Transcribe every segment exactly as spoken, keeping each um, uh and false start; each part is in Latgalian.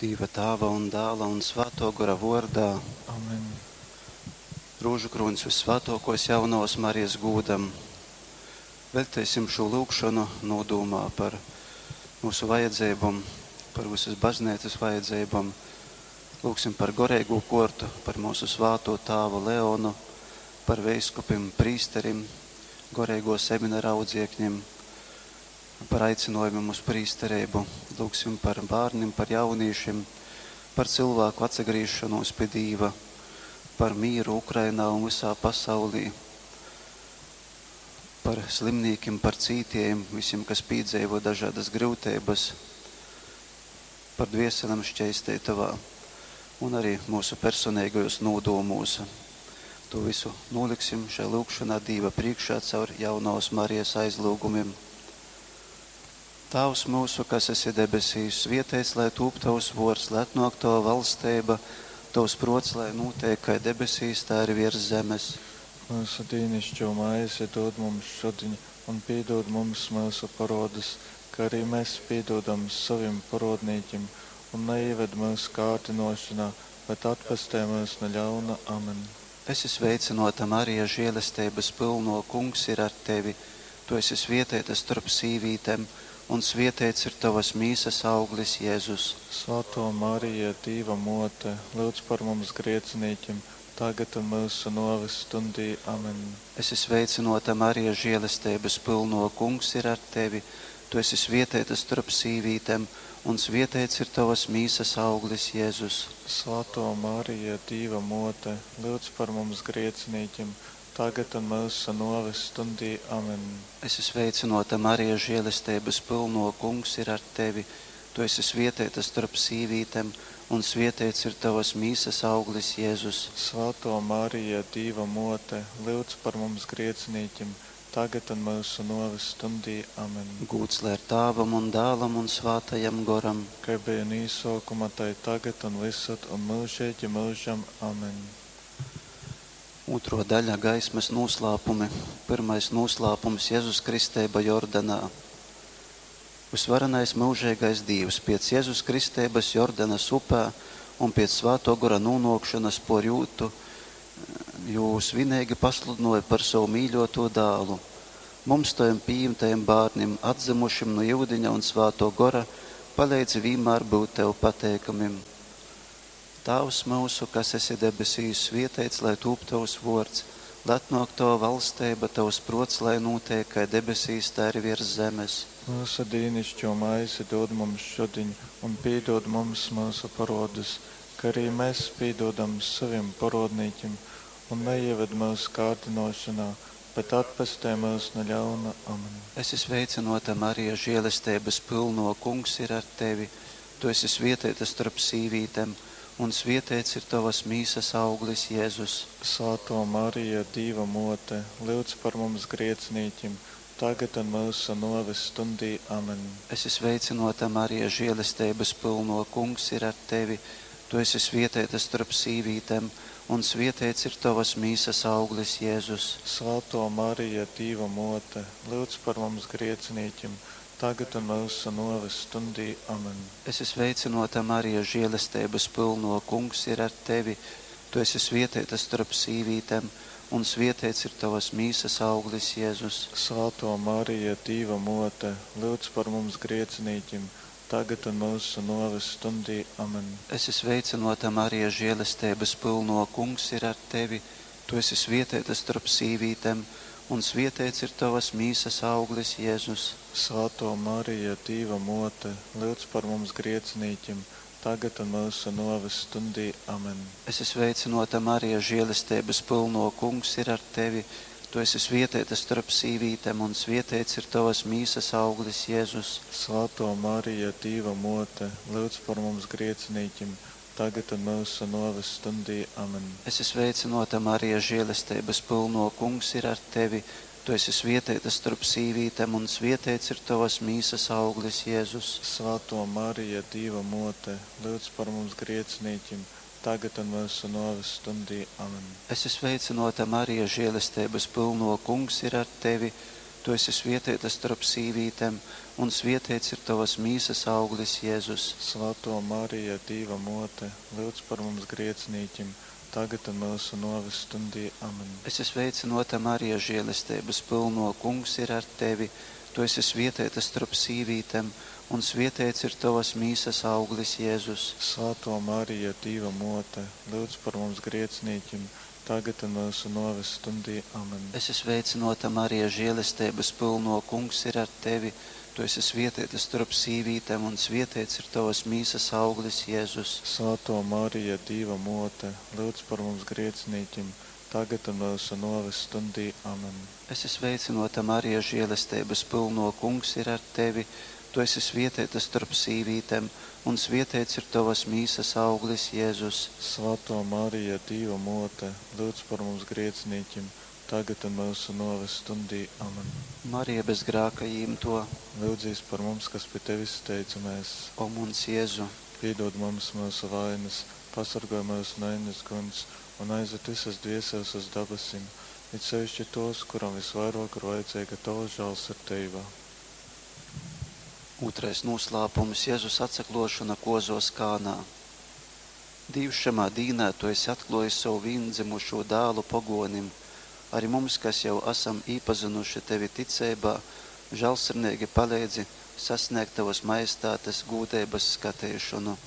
Dīva Tāva un Dāla un Svātō Gora vōrdā. Amen. Rūžukrūņs vyssvātōkōs Jaunavas Marijas gūdam. Veļteisim šū lyugšonu nūdūmā par mūsu vajadzeibom, par visas bazneicas vajadzeibom. Lūgsim par goreigū kortu, par mūsu svātū tāvu Leonu, par veiskupim, prīsterim, goreigō seminara audziekņiem, par aicinojumiem uz prīstereibu. Lūgsim par bērniem, par jauniešiem, par cilvēku atsagriešanos pie Dīva, par mīru Ukrainā un visā pasaulī, par slimnīkiem, par cītējiem, visiem, kas piedzīvo dažādas grūtības, par dvieselēm šķeistētavā un arī mūsu personīgajos nūdomūs. To visu noliksim šajā lūgšanā Dīva priekšā caur jaunās Marijas aizlūgumiem. Tēvs mūsu, kas esi debesīs, svietēts, lai tūp tavs vārds, lai atnāk tava valstība, tavs prots, lai notiek kā debesīs, tā arī virs zemes. Mūsu dīnišķo maizi dod mums šodien, un piedod mums mūsu parodus, kā arī mēs piedodam saviem parodnīķim, un neieved mūsu kārdinošanā, bet atpestē mūs no ļauna. Amen. Esi sveicināta, Marija, žēlestības pilno, kungs ir ar tevi. Tu esi svietēta starp sīvītēm, un svietēts ir tavas mīsas auglis, Jēzus. Svētā Marija, Dīva mote, lūdz par mums grēciniekiem, tagad un mūsu noves stundī. Amen. Esi sveicināta, Marija, žēlestības pilno, kungs ir ar tevi. Tu esi svietēta starp sīvītēm, un svietēts ir tavas mīsas auglis, Jēzus. Svētā Marija, Dīva mote, lūdz par mums grēciniekiem, tagad un mūsu noves stundī. Amen. Esi sveicināta, Marija, žēlestības pilno, kungs ir ar tevi. Tu esi svietēta starp sīvītēm, un svietēts ir tavas mīsas auglis, Jēzus. Svētā Marija, Dīva mote, lūdz par mums grēciniekiem, tagad un mūsu noves stundī. Amen. Gūts lai ir Tāvam un Dālam un Svātajam Goram. Kā bija no īsākuma, tai tagad un visad un mūžīgi mūžam. Amen. Otro daļa gaismas noslēpumi. Pirmais noslēpums Jēzus Kristēba Jordanā. Visvarenais mūžīgais Dievs pēc Jēzus Kristēbas Jordanas upē un pēc Svēto Gora nonākšanas por jūtu, jū svinīgi pasludināja par savu mīļoto dālu. Mums tojam pieņemtajiem bērniem, atzimušiem no jūdiņa un Svēto Gora, palīdzi vienmēr būt tev pateikamim. Tēvs mūsu, kas esi debesīs, svietēts, lai tūp tavs vārds, lai atnāk tava valstība, tavs prots, lai notiek kā debesīs, tā arī virs zemes. Mūsu dīnišķo maizi dod mums šodien, un piedod mums mūsu parodus, kā arī mēs piedodam saviem parodnīķim, un neieved mūsu kārdinošanā, bet atpestē mūs no ļauna. Amen. Esi sveicināta, Marija, žēlestības pilno, kungs ir ar tevi. Tu esi svietēta starp sīvītēm, un svietēts ir tavas mīsas auglis, Jēzus. Svētā Marija, Dīva mote, lūdz par mums grēciniekiem, tagad un mūsu noves stundī. Amen. Esi sveicināta, Marija, žēlestības pilno, kungs ir ar tevi. Tu esi svietēta starp sīvītēm, un svietēts ir tavas mīsas auglis, Jēzus. Svētā Marija, Dīva mote, lūdz par mums grēciniekiem, tagad un mūsu noves stundī. Amen. Esi sveicināta, Marija, žēlestības pilno, kungs ir ar tevi. Tu esi svietēta starp sīvītēm, un svietēts ir tavas mīsas auglis, Jēzus. Svētā Marija, Dīva mote, lūdz par mums grēciniekiem, tagad un mūsu noves stundī. Amen. Esi sveicināta, Marija, žēlestības pilno, kungs ir ar tevi. Tu esi svietēta starp sīvītēm, un svietēts ir tavas mīsas auglis, Jēzus. Svētā Marija, Dīva mote, lūdz par mums grēciniekiem, tagad un mūsu noves stundī. Amen. Esi sveicināta, Marija, žēlestības pilno, kungs ir ar tevi. Tu esi svietēta starp sīvītēm, un svietēts ir tavas mīsas auglis, Jēzus. Svētā Marija, Dīva mote, lūdz par mums grēciniekiem, tagad un mūsu noves stundī. Amen. Esi sveicināta, Marija, žēlestības pilno, kungs ir ar tevi. Tu esi svietēta starp sīvītēm, un svietēts ir tavas mīsas auglis, Jēzus. Svētā Marija, Dīva mote, lūdz par mums grēciniekiem, tagad un mūsu noves stundī. Amen. Esi sveicināta, Marija, žēlestības pilno, kungs ir ar tevi. Tu esi svietēta storp sīvītem, un svietēts ir tovas mīsas auglis, Jēzus. Svātō Marija, Dīva Mōte, lyudz par mums grēcinīkim, tagad un myusu nōves stundī. Amen. Esi sveicynōta, Marija, želesteibas pylnō, Kungs ir ar tevi. Tu esi svietēta storp sīvītem, un svietēts ir tovas mīsas auglis, Jēzus. Svātō Marija, Dīva Mōte, lyudz par mums grēcinīkim, tagad un myusu nōves stundī. Amen. Esi sveicynōta, Marija, želesteibas pylnō, Kungs ir ar tevi. Tu esi svietēta storp sīvītem, un svietēts ir tovas mīsas auglis, Jēzus. Svātō Marija, Dīva Mōte, lyudz par mums grēcinīkim, tagad un myusu nōves stundī. Amen. Esi sveicynōta, Marija, želesteibas pylnō, Kungs ir ar tevi. Tu esi svietēta storp sīvītem, un svietēts ir tovas mīsas auglis, Jēzus. Svātō Marija, Dīva Mōte, lyudz par mums grēcinīkim, tagad un myusu nōves stundī. Amen. Marija bez grāka jīmto, Lyudzīs par mums, kas pi tevis steidzamies. O muns Jēzu! Pīdod mums myusu vainas, pasorgoj myus nu eļnes guņs un aizved vysas dvieseles uz dabasim, it sevišķi tos, kurom visvairāk ir vajadzīga tava žālsirdība. Ūtrais noslēpums – Jēzus atsaklōšona kozos Kānā. Dīvs, šamā dīnā Tu esi atklōjis savu vīndzimušū dālu pogōnim, arī mums, kas jau asam īpazynuši Tevi ticeibā, žālsirdeigi paleidzi sasnēgt Tavas majestātes gūdeibas skateišonu.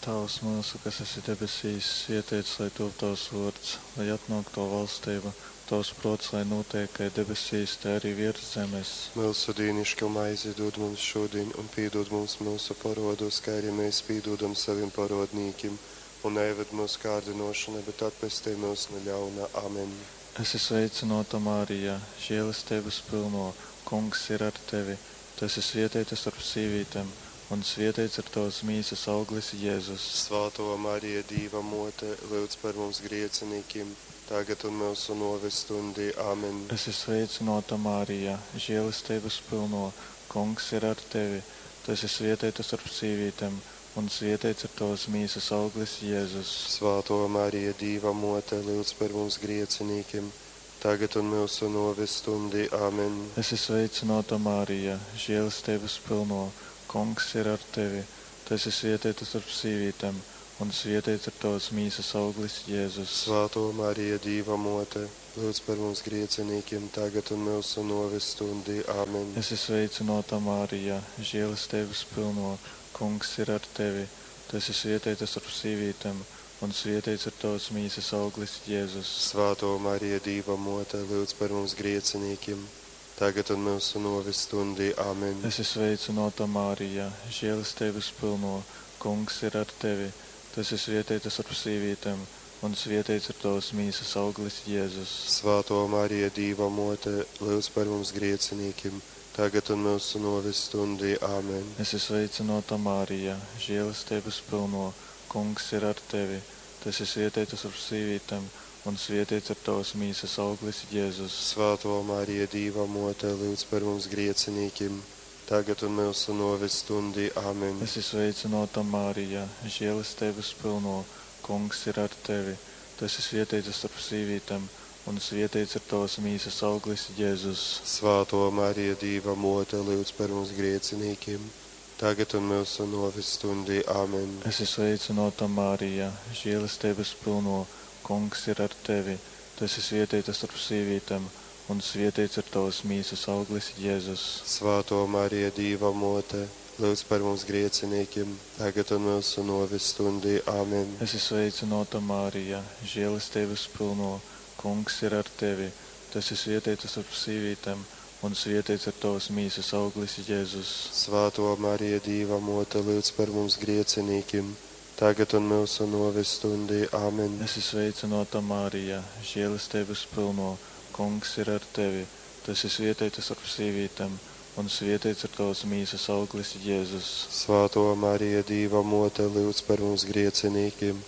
Tēvs mūsu, kas esi debesīs, svētīts lai top tavs vārds, lai atnāk tava valstība, tavs prāts, lai notiek kā debesīs, tā arī virs zemes. Mūsu dīnišķo maizi dod mums šodien un piedod mums mūsu parodus, kā arī mēs piedodam saviem parodnīkim. Un neieved mūsu kārdinošanā, bet atpestī mūs no ļauna. Amen. Esi sveicināta, Marija, žēlestības pilno, Kungs ir ar tevi. Tu esi svētīta starp sīvītēm, un svētīts ir tavas mīsas auglis, Jēzus. Svāto Marija, Dīva mote, lūdz par mums griecinīkim, tagad un mūsu noves stundī. Amen. Esi sveicināta, Marija, žēlestības pilno, Kungs ir ar tevi. Tu esi svētīta starp sīvītēm, un svētīts ir tavas mīsas auglis, Jēzus. Svāto Marija, Dīva mote, lūdz par mums griecinīkim, tagad un mūsu noves stundī. Amen. Esi sveicināta, Marija, žēlestības pilno, Kungs ir ar tevi. Tu esi svētīta starp sīvītēm, un svētīts ir tavas mīsas auglis, Jēzus. Svāto Marija, Dīva mote, lūdz par mums griecinīkiem, tagad un mūsu noves stundī. Amen. Esi sveicināta, Marija, žēlestības pilno, Kungs ir ar tevi. Tu esi svētīta starp sīvītēm, un svētīts ir tavas mīsas auglis, Jēzus. Svāto Marija, Dīva mote, lūdz par mums griecinīkiem, tagad un mūsu noves stundī. Amen. Esi sveicināta, Marija, žēlestības pilno, Kungs ir ar tevi. Tu esi svētīta starp sīvītēm, un svētīts ir tavas mīsas auglis, Jēzus. Svāto Marija, Dīva mote, lūdz par mums griecinīkiem, tagad un mūsu noves stundī. Amen. Esi sveicināta, Marija, žēlestības pilno, Kungs ir ar tevi. Tu esi svētīta starp sīvītēm, un svētīts ir tavas mīsas auglis, Jēzus. Svāto Marija, Dīva mote, lūdz par mums griecinīkiem, tagad un mūsu noves stundī. Amen. Esi sveicināta, Marija, žēlestības pilno, Kungs ir ar tevi. Tu esi svētīta starp sīvītēm, un svētīts ir tavas mīsas auglis, Jēzus. Svāto Marija, Dīva mote, lūdz par mums griecinīkiem, tagad un mūsu noves stundī. Amen. Esi sveicināta, Marija, žēlestības pilno, Kungs ir ar tevi. Tu esi svētīta starp sīvītēm, un svētīts ir tavas mīsas auglis, Jēzus. Svāto Marija, Dīva mote, lūdz par mums griecinīkiem, tagad un mūsu noves stundī. Amen. Esi sveicināta, Marija, žēlestības pilno, Kungs ir ar tevi. Tu esi svētīta starp sīvītēm, un svētīts ir tavas mīsas auglis, Jēzus. Svāto Marija, Dīva mote, lūdz par mums griecinīkiem, tagad un mūsu noves stundī. Amen. Esi sveicināta, Marija, žēlestības pilno, Kungs ir ar tevi. Tu esi svētīta starp sīvītēm, un svētīts ir tavas mīsas auglis, Jēzus. Svāto Marija, Dīva mote, lūdz par mums griecinīkiem,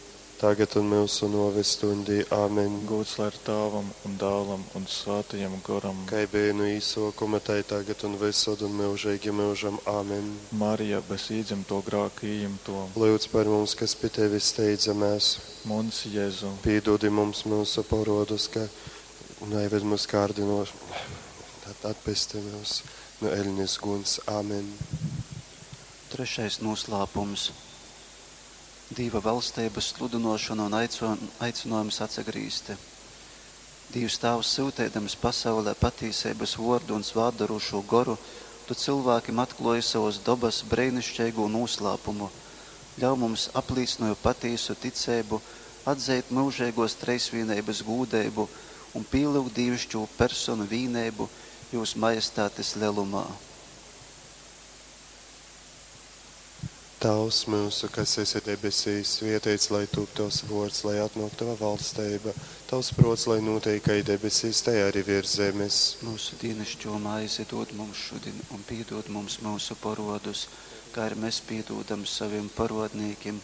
tagad un myusu nōves stuņdī. Amen. Gūds lai ir Tāvam un Dālam un Svātajam Goram. Kai beja nu īsōkuma, tai tagad un vysod un myužeigi myužam. Amen. Marija, bez īdzymtō grāka ījimtō. Lyudz par mums, kas pi tevis steidzamēs. Muns Jezu. Pīdūdi mums myusu porodus, ka neived mūs kārdinoš, atpesti myus no eļnes guns. Amen. Trešais noslēpums – Dīva valsteibas sludinošana un aicinājums atsagrīzti. Dīvs Tāvs, syuteidams pasaulē patīseibas vordu un svātdarošū goru, tu cilvēkiem atklāji savas dobas breinišķīgo noslēpumu. Ļauj mums aplīcinoju patīsu ticību, atzīt mūžīgos treisvīneibas gūdeibu un pīlūgt dīvišķo personu vīneibu jūs majestātes lielumā. Tavs mūsu, kas esi debesīs, svētīts lai tūp tavs vārds, lai atnāk tava valstība, tavs prots, lai notiek kā debesīs, tai arī virs zemes. Mūsu dienascho maizi dod mums šodien un piedod mums mūsu parodus, kā arī mēs piedodam saviem parodnīkiem,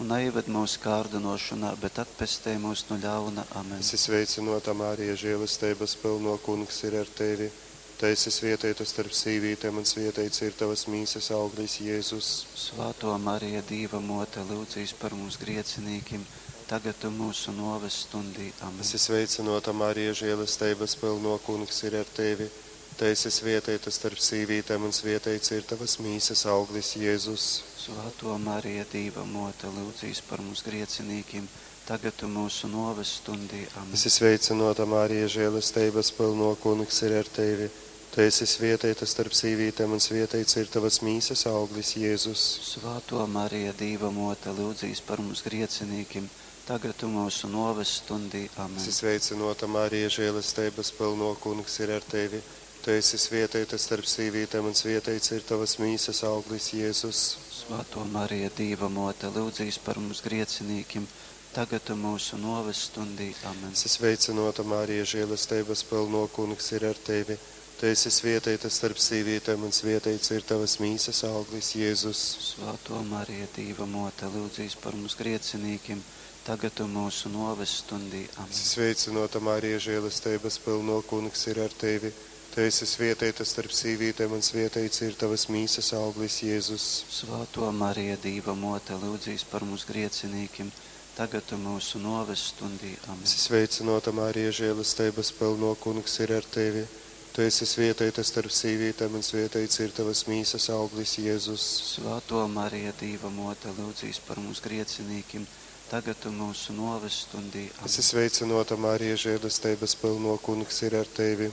un neieved mūsu kārdinošanā, bet atpestē mūs no ļauna. Amen. Esi sveicinota Marija, žēlastības pilno kungs ir ar tevi. Tu esi svētīta starp sīvītēm un svētīts ir tavas mīsas auglis Jēzus. Svāto Marija, Dīva mote, lūdzīs par mums griecinīkim, tagad un mūsu noves stundī. Amen. Esi sveicinota Marija, žēlastības pilno kungs ir ar tevi. Tu esi svētīta starp sīvītēm un svētīts ir tavas mīsas auglis Jēzus. Svāto Marija, Dīva mote, lūdzīs par mums griecinīkim, tagad un mūsu noves stundī. Amen. Esi sveicinota Marija, žēlastības pilno kungs ir ar tevi. Tu esi svētīta starp sīvītēm un svētīts ir tavas mīsas auglis Jēzus. Svāto Marija, Dīva mote, lūdzīs par mums griecinīkim, tagad un mūsu noves stundī. Amen. Esi sveicinota Marija, žēlastības pilno kungs ir ar tevi. Tu esi svētīta starp sīvītēm un svētīts ir tavas mīsas auglis Jēzus. Svāto Marija, Dīva mote, lūdzīs par mums griecinīkim, tagad un mūsu noves stundī. Amen. Esi sveicinota Marija, žēlastības pilno kungs ir ar tevi. Tu esi svētīta starp sīvītēm un svētīts ir tavas mīsas auglis Jēzus. Svāto Marija, Dīva mote, lūdzīs par mums griecinīkim, tagad un mūsu noves stundī. Amen. Esi sveicinota Marija, žēlastības pilno kungs ir ar tevi. Tu esi svētīta starp sīvītēm un svētīts ir tavas mīsas auglis Jēzus. Svāto Marija, Dīva mote, lūdzīs par mums griecinīkim, tagad un mūsu noves stundī. Amen. Esi sveicinota Marija, žēlastības pilno kungs ir ar tevi. Tu esi svētīta starp sīvītēm un svētīts ir tavas mīsas auglis Jēzus. Svāto Marija, Dīva mote, lūdzīs par mums griecinīkim, tagad un mūsu noves stundī. Amen. Esi sveicinota Marija, žēlastības pilno kungs ir ar tevi.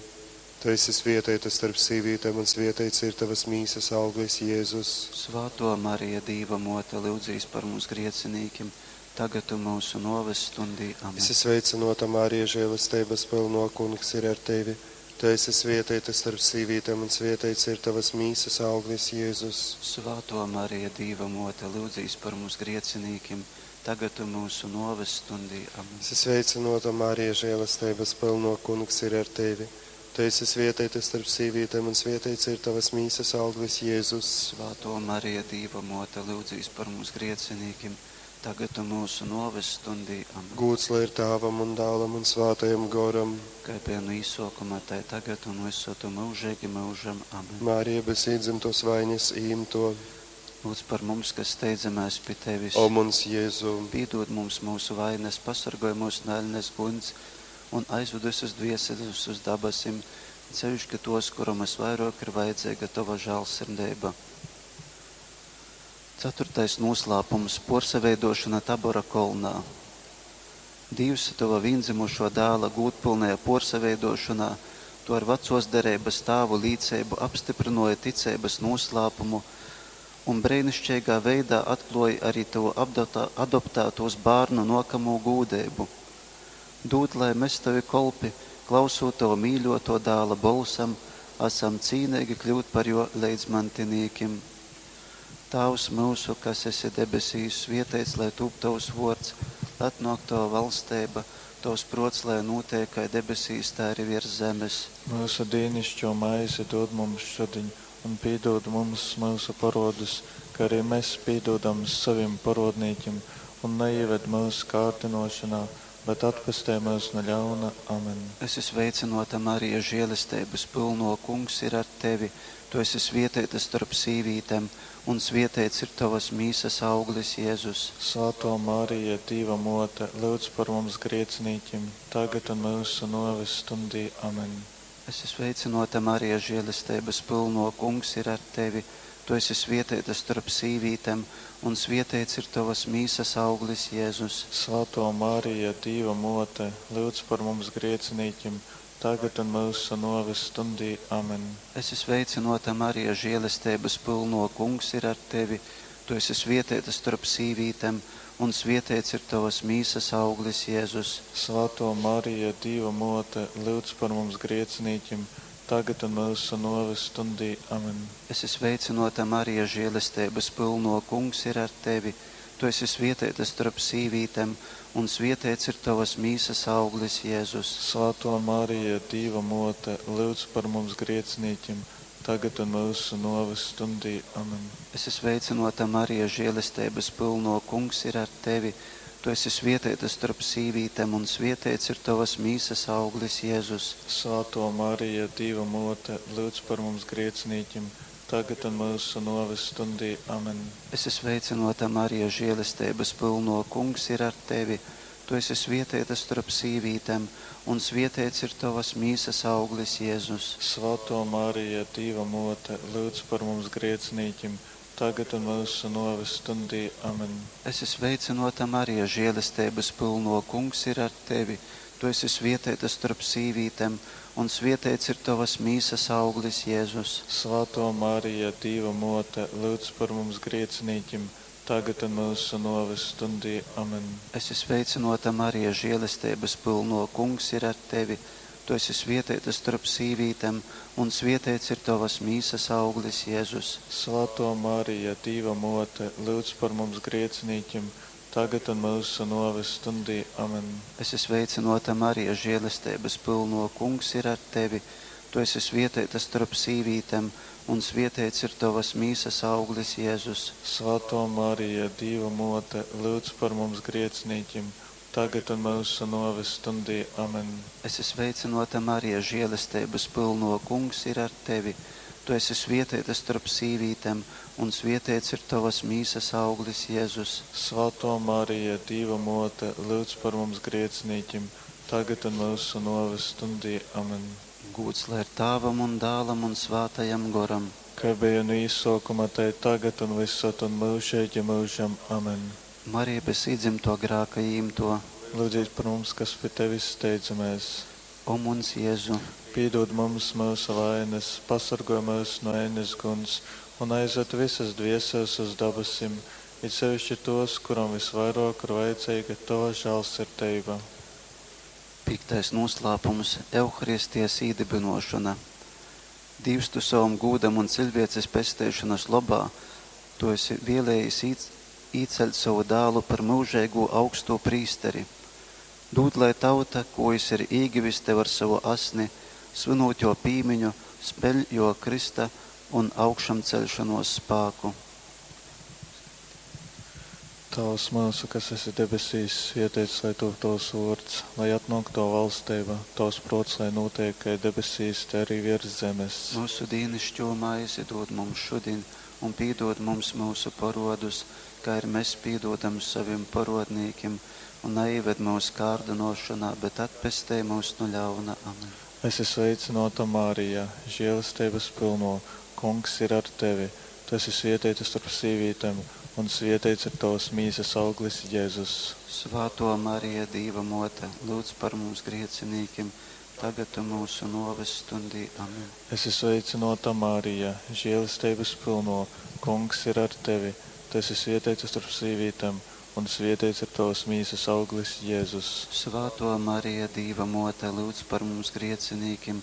Tu esi svētīta starp sīvītēm un svētīts ir tavas mīsas auglis Jēzus. Svāto Marija, Dīva mote, lūdzīs par mums griecinīkim, tagad un mūsu noves stundī. Amen. Esi sveicinota Marija, žēlastības pilno kungs ir ar tevi. Tu esi svētīta starp sīvītēm un svētīts ir tavas mīsas auglis Jēzus. Svāto Marija, Dīva mote, lūdzīs par mums griecinīkim, tagad un mūsu noves stundī. Amen. Esi sveicinota Marija, žēlastības pilno kungs ir ar tevi. Tu esi svētīta starp sīvītēm un svētīts ir tavas mīsas auglis Jēzus. Svāto Marija, Dīva mote, lūdzīs par mums griecinīkim, tagad un mūsu noves stundī. Amen. Gūds lai ir Tēvam un Dēlam un Svētajam Goram. Kā bija no īsokuma, tai tagad un visur un mūžīgi mūžam. Amen. Marija bez iedzimtos vainas īmto. Lūdz par mums, kas steidzamies pie tevis. O mums Jēzu, Piedod mums mūsu vainas, pasargoj mūs no eļnes guns un aizved visus dvieseļus uz dabasim, sevišķi tos, kuram visvairāk ir vajadzīga tava žēlsirdība. Ceturtais noslēpums – porsaveidošana Tabora kolnā. Dievs tava viendzimušo dēla gūtpilnajā porsaveidošanā, tu ar vecos derības tāvu līdzību apstiprināja ticības noslēpumu un brēnišķīgā veidā atklāja arī tavu apdotā, adoptētos bērnu nokamo gūdību. Dod, lai mēs tavi kolpi, klausot tavu mīļoto dēla bolsam, esam cīnīgi kļūt par jo leidzmantinīkim. Tēvs mūsu, kas esi debesīs, svietēts, lai tūp tavs vārds, lai atnāk tava valstība, tavs prots, lai notiek kā debesīs, tā arī virs zemes. Mūsu dienascho maizi dod mums šodien, un piedod mums mūsu parodus, kā arī mēs piedodam saviem parodnīkiem, Un neieved myusu kārdinošanā, bet atpestej myus nu ļauna. Amen. Esi sveicynōta, Marija, želesteibas pylnō, Kungs ir ar tevi. Tu esi svieteita storp sīvītem, un svieteits ir tovas mīsas auglis, Jezus. Svātō Marija, Dīva Mōte, lyudz par mums griecinīkim, tagad un myusu nōves stundī. Amen. Esi sveicynōta, Marija, želesteibas pylnō, Kungs ir ar tevi. Tu esi svieteita storp sīvītem, un svieteits ir tovas mīsas auglis, Jezus. Svātō Marija, Dīva Mōte, lyudz par mums griecinīkim, tagad un myusu nōves stundī. Amen. Esi sveicynōta, Marija, želesteibas pylnō, Kungs ir ar tevi. Tu esi svieteita storp sīvītem, un svieteits ir tovas mīsas auglis, Jezus. Svātō Marija, Dīva Mōte, lyudz par mums griecinīkim, tagad un myusu nōves stundī. Amen. Esi sveicynōta, Marija, želesteibas pylnō, Kungs ir ar tevi. Tu esi svieteita storp sīvītem, un svieteits ir tovas mīsas auglis, Jezus. Svātō Marija, Dīva Mōte, lyudz par mums griecinīkim, tagad un myusu nōves stundī. Amen. Esi sveicynōta, Marija, želesteibas pylnō, Kungs ir ar tevi. Tu esi svieteita storp sīvītem, un svieteits ir tovas mīsas auglis, Jezus. Svātō Marija, Dīva Mōte, lyudz par mums griecinīkim, tagad un myusu nōves stundī. Amen. Esi sveicynōta, Marija, želesteibas pylnō, Kungs ir ar tevi. Tu esi svieteita storp sīvītem, un svieteits ir tovas mīsas auglis, Jezus. Svātō Marija, Dīva Mōte, lyudz par mums griecinīkim, tagad un myusu nōves stundī. Amen. Esi sveicynōta, Marija, želesteibas pylnō, Kungs ir ar tevi. Tu esi svieteita storp sīvītem, un svieteits ir tovas mīsas auglis, Jezus. Svātō Marija, Dīva Mōte, lyudz par mums griecinīkim, tagad un myusu nōves stundī. Amen. Esi sveicynōta, Marija, želesteibas pylnō, Kungs ir ar tevi. Tu esi svieteita storp sīvītem, un svieteits ir tovas mīsas auglis, Jezus. Svātō Marija, Dīva Mōte, lyudz par mums griecinīkim, tagad un myusu nōves stundī. Amen. Esi sveicynōta, Marija, želesteibas pylnō, Kungs ir ar tevi. Tu esi svieteita storp sīvītem, un svieteits ir tovas mīsas auglis, Jezus. Svātō Marija, Dīva Mōte, lyudz par mums griecinīkim, tagad un myusu nōves stundī. Amen. Esi sveicynōta, Marija, želesteibas pylnō, Kungs ir ar tevi. Tu esi svieteita storp sīvītem, un svieteits ir tovas mīsas auglis, Jezus. Svātō Marija, Dīva Mōte, lyudz par mums griecinīkim, tagad un myusu nōves stundī. Amen. Gūds lai ir Tāvam un Dālam un Svātajam Goram. Kā bija no īsākuma, tai tagad un visad un mūžīgi mūžam. Amen. Marija bez iedzimto grāka īmto, Lūdzies par mums, kas pie tevis steidzamies. O muns Jēzu, Pīdod mums mūsu vainas, pasargoj mūs no ēnes guns un aizved visas dvieseles uz dabasim, it sevišķi tos, kuram visvairāk ir vajadzīga tava žēlsirdība. Piektais noslēpums – Euharistijas īdibinošana. Dievs, tu savam gūdam un cilvēces pesteišanas lobā, tu esi vēlējis īceļt savu dālu par mūžīgo augsto prīsteri. Dūd, lai tauta, ko jis ir īgivis tev ar savu asni, svinot jo pīmiņu, speļ jo Krista un augšamceļšanos spāku. Tavs mūsu, kas esi debesīs, svētīts lai top tavs vārds, lai atnāk tava valstība, tavs prāts, lai notiek kā debesīs, tā arī virs zemes. Mūsu dienascho maizi dod mums šodien, un piedod mums mūsu parodus, kā ir mēs piedodam saviem parodnīkiem, un neieved mūsu kārdinošanā, bet atpestej mūs no ļauna. Amen. Esi sveicināta, Marija, žēlastības pilno, Kungs ir ar tevi. Tu esi svētīta starp sīvītēm, un svētīts ir tavas mīsas auglis, Jēzus. Svāto Marija, Dīva mote, lūdz par mums griecinīkiem, tagad un mūsu noves stundī. Amen. Esi sveicināta, Marija, žēlastības pilno, Kungs ir ar tevi. Tu esi svētīta starp sīvītēm, un svētīts ir tavas mīsas auglis, Jēzus. Svāto Marija, Dīva mote, lūdz par mums griecinīkiem,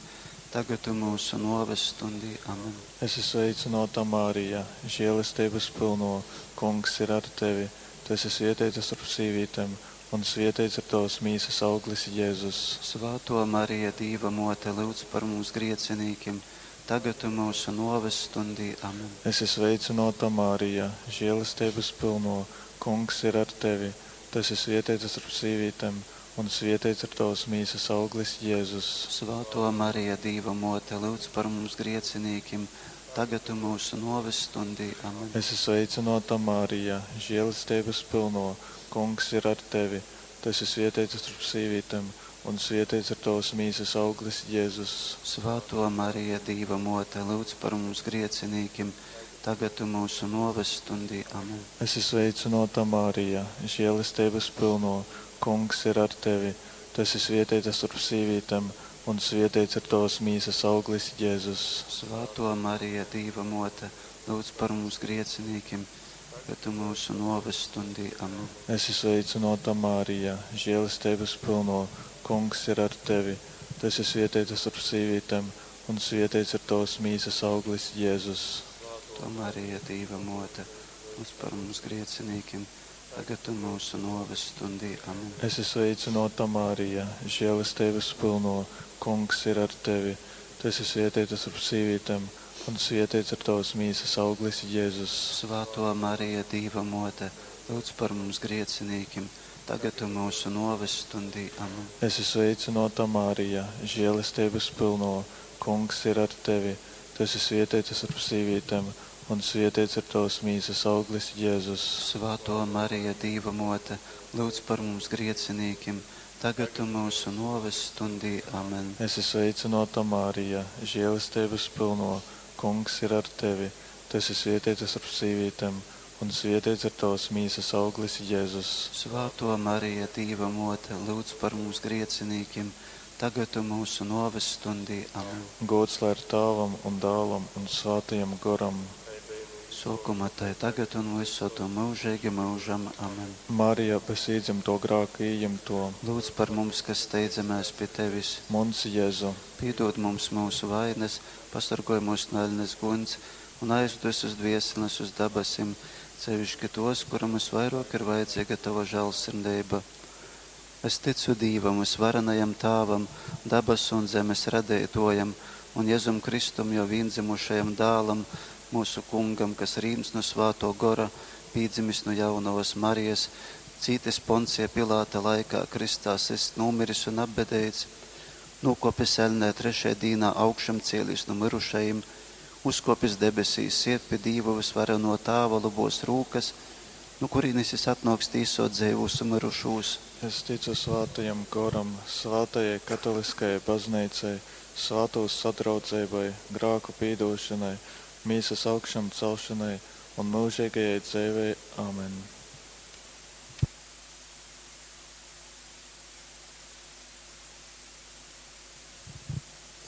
tagad un mūsu noves stundī. Amen. Esi sveicināta, Marija, žēlastības pilno, Kungs ir ar tevi. Tu esi svētīta starp sīvītēm, un svētīts ir tavas mīsas auglis, Jēzus. Svāto Marija, Dīva mote, lūdz par mums griecinīkiem, tagad un mūsu noves stundī. Amen. Esi sveicināta, Marija, žēlastības pilno, Kungs ir ar tevi. Tu esi svietēta starp sīvītēm, un svietēts ir tavas mīsas auglis, Jēzus. Svātō Marija, Dīva Mōte, lyudz par mums griecinīkim, tagad un mūsu nōves stundī. Amen. Esi sveicināta, Marija, žēlestības pilno, Kungs ir ar tevi. Tu esi svietēta starp sīvītēm, un svietēts ir tavas mīsas auglis, Jēzus. Svātō Marija, Dīva Mōte, lyudz par mums griecinīkim, tagad un mūsu nōves stundī. Amen. Esi sveicināta, Marija, žēlestības pilno, Kungs ir ar tevi. Tu esi svietēta starp sīvītēm, un svietēts ir tavas mīsas auglis, Jēzus. Svātō Marija, Dīva Mōte, lūdz par mums griecinīkim, tagad un mūsu nōves stundī. Amen. Esi sveicināta, Marija, žēlestības pilno, Kungs ir ar tevi. Tu esi svietēta starp sīvītēm, un svietēts ir tavas mīsas auglis, Jēzus. Svētā Marija, Dīva Mōte, lūdz par mums griecinīkim, tagad un mūsu nōves stundī. Amen. Esi sveicināta, Marija, žēlestības pilno, Kungs ir ar tevi. Tu esi svietēta starp sīvītēm, un svietēts ir tavas mīsas auglis, Jēzus. Svētā Marija, Dīva Mōte, lūdz par mums griecinīkim, tagad un mūsu nōves stundī. Amen. Esi sveicināta, Marija, žēlestības pilno, Kungs ir ar tevi. Tu esi svietēta starp sīvītēm, un svietēts ir tavas mīsas auglis, Jēzus. Svētā Marija, Dīva Mōte, lūdz par mums griecinīkim, tagad un mūsu nōves stundī. Amen. Esi sveicināta, Marija, žēlestības pilno, Kungs ir ar tevi. Tu esi svietēta starp sīvītēm, un svietēts ir tavas mīsas auglis, Jēzus. Svētā Marija, Dīva Mōte, lūdz par mums griecinīkim, tagad un mūsu nōves stundī. Amen. Gods lai ir Tēvam un Dēlam un Svētajam Goram. Sōkumā tai tagad un visod un mūžīgi mūžam. Amen. Marija, bez iedzimto grāka ījimto, Lūdz par mums, kas steidzamies pie tevis. Muns Jēzu, Piedod mums mūsu vainas, pasargoj mūs no eļnes guns un aizved visus dvieseles uz dabasim, sevišķi tos, kuram visvairāk ir vajadzīga tava žēlsirdība. Es ticu Dīvam, visvarenajam Tāvam, dabasu un zemes radītojam, un Jēzum Kristum, jo viendzimušajam dālam, mūsu kungam, kas rīms no svāto gora, pīdzimis no jaunavas Marijas, cītis Poncija Pilāta laikā, kristā sist, nomiris un apbedēts, nokopis elnē trešajā dīnā augšam cēlies no mirušajiem, uzkopis debesīs, siet pie Dīva visvareno Tāva labos rūkas, no kurienes jis atnāks tīsot dzīvus un mirušos. Es ticu Svētajam Goram, Svētajai katoliskajai baznīcai, svētos sadraudzībai, grāku pīdošanai, mīsas augšām celšanai un mūžīgajai dzīvei. Amen.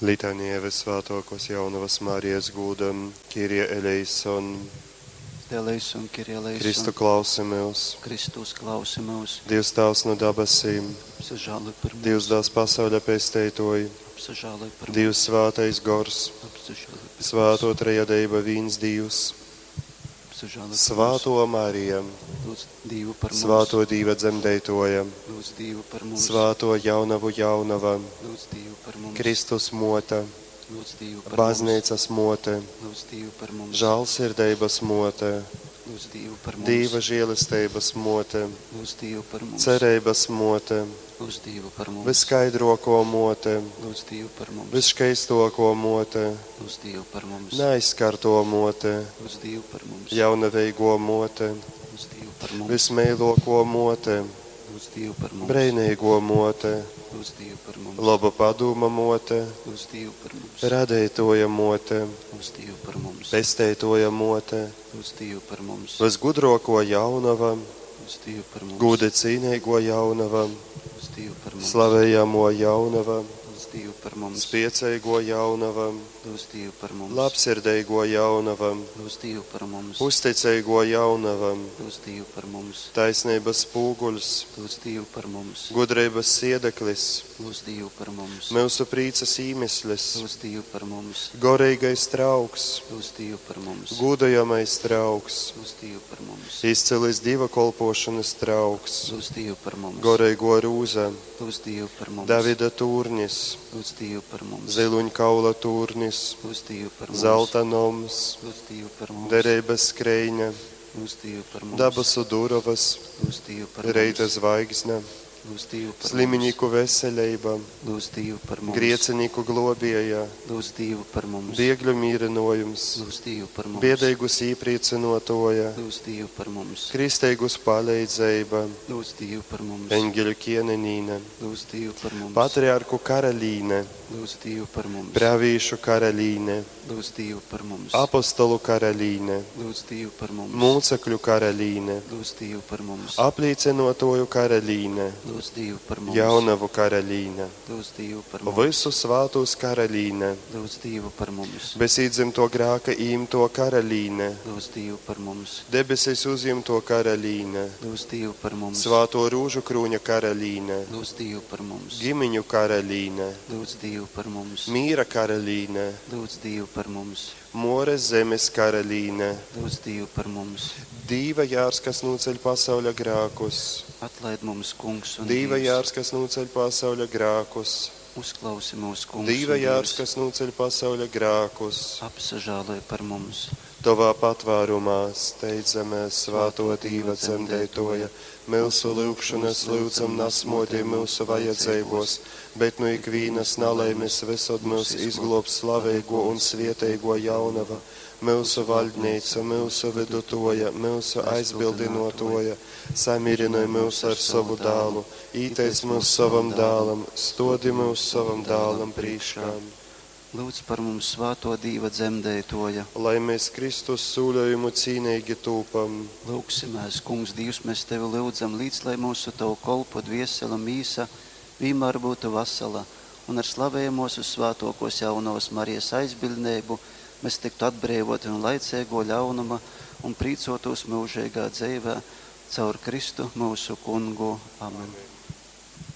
Litanija visvētākos jaunavas Marijas gūdam, Kyrie eleison, Eleison, Kyrie eleison, Kristu klausi mūs, Kristus klausi mūs, Dievs Tēvs no dabasīm, apsažāloj par mums, Dievs dās pasauļa pesteitoji, apsažāloj par mums, Dievs svētais gors, apsažāloj par mums, svēto trejadība vīns Dievs, apsažāloj par mums, svēto Marija, lūdz Dievu par mums, svēto Dīva dzemdētoja, lūdz Dievu par mums, svēto jaunavu jaunava, lūdz Dievu par mums, Kristus mote, lūdz Dievu par mums, baznīcas mote, lūdz Dievu par mums, žālsirdības mote, lūdz Dievu par mums, Dīva žēlestības mote, lūdz Dievu par mums, cerības mote, lūdz Dievu par mums, viskaidroko mote, lūdz Dievu par mums, visskaistoko mote, lūdz Dievu par mums, neaizskarto mote, lūdz Dievu par mums, jaunaveigo mote, lūdz Dievu par mums, vismeiloko mote, lūdz Dievu par mums, breinīgo mote, lūdz Dievu par mums, laba padoma mote, lūdz Dievu par mums, radētoja mote, lūdz Dievu par mums, pesteitoja mote, lūdz Dievu par mums, visgudroko jaunava, lūdz Dievu par mums, gūda cīnīgo jaunava, lūdz Dievu par mums, slavējamo jaunava, lūdz Dievu par mums, spiecīgo jaunava, lūdz Dievu par mums, labsirdīgo jaunava, lūdz Dievu par mums, uzticīgo jaunava, lūdz Dievu par mums, taisnības spūguļs, lūdz Dievu par mums, gudrības siedeklis, lūdz Dievu par mums, mūsu prīcas īmeslis, lūdz Dievu par mums, gorīgais trauks, lūdz Dievu par mums, gudajamais trauks, lūdz Dievu par mums, izcilis dieva kolpošanas trauks, lūdz Dievu par mums, gorīgo rūza, lūdz Dievu par mums, Davida tūrnis, lūdz Dievu par mums, ziluņkaula tūrnis, lūdz Dievu par mums, zelta noms, lūdz Dievu par mums, derības skreiņa, Lūdz Dievu par mums. Dabasu durovas, Lūdz Dievu par Reita mums. zvaigzne, Lūdz Dievu par sliminīku veselība, mums. Lūdz Dievu par mums. griecinīku globēja, Lūdz Dievu par mums. biegļu mīrinojums, Lūdz Dievu par mums. biedīgus īpriecinotoja, Lūdz Dievu par mums. kristīgus palīdzība, Lūdz Dievu par mums. eņģeļu ķienenīne, Lūdz Dievu par mums. patriarku karalīne, Lūdz Dievu par mums. pravīšu karalīne, Lūdz Dievu par mums. apostolu karalīne, Lūdz Dievu par mums. mūcekļu karalīne, Lūdz Dievu par mums. aplīcinotoju karalīne, Lūdz Dievu par mums. jaunavu karalīne, Lūdz Dievu par mums. visu svātūs karalīne, Lūdz Dievu par mums. bez īdzimto grāka īmto karalīne, Lūdz Dievu par mums. debesīs uzjimto karalīne, Lūdz Dievu par mums. svāto rūžu krūņa karalīne, Lūdz Dievu par mums. ģimiņu karalīne, Lūdz Dievu par mums. mīra karalīne, Lūdz Dievu par mums. mores zemes karalīne, Lūdz Dievu par mums. Dīva jārs, kas noceļ pasauļa grēkus, Atlaid mums, kungs un Dīva Dievs. jārs, kas noceļ pasauļa grēkus, Uzklausi mūs, kungs Dīva un jārs, Dievs. kas noceļ pasauļa grēkus, Apsažāloj par mums. Tavā patvērumā steidzamies svāto Dīva dzemdētoja, mūsu lūgšanas lūdzam nasmodī mūsu vajadzībos, bet nu ikvīnas nalaimes visod mūs izglobs slavēgo un svietēgo jaunava, mūsu valdnīca, mūsu vidutoja, mūsu aizbildinotoja, samirinoj mūs ar savu dālu, īteic mūs savam dālam, stodi mūs savam dālam priekšām. Lūdz par mums svāto Dīva dzemdētoja. Lai mēs Kristus sūļojumu cīnīgi tūpam. Lūgsimēs, kungs, Dievs, mēs tevi lūdzam, līdz lai mūsu tavu kolpu dviesela mīsa vienmēr būtu vasala, un ar slavējamos uz svētokos jaunos Marijas aizbildnību mēs tiktu atbrīvoti no laicīgo ļaunuma un prīcotos mūžīgā dzīvē caur Kristu mūsu kungu. Amen. Amen.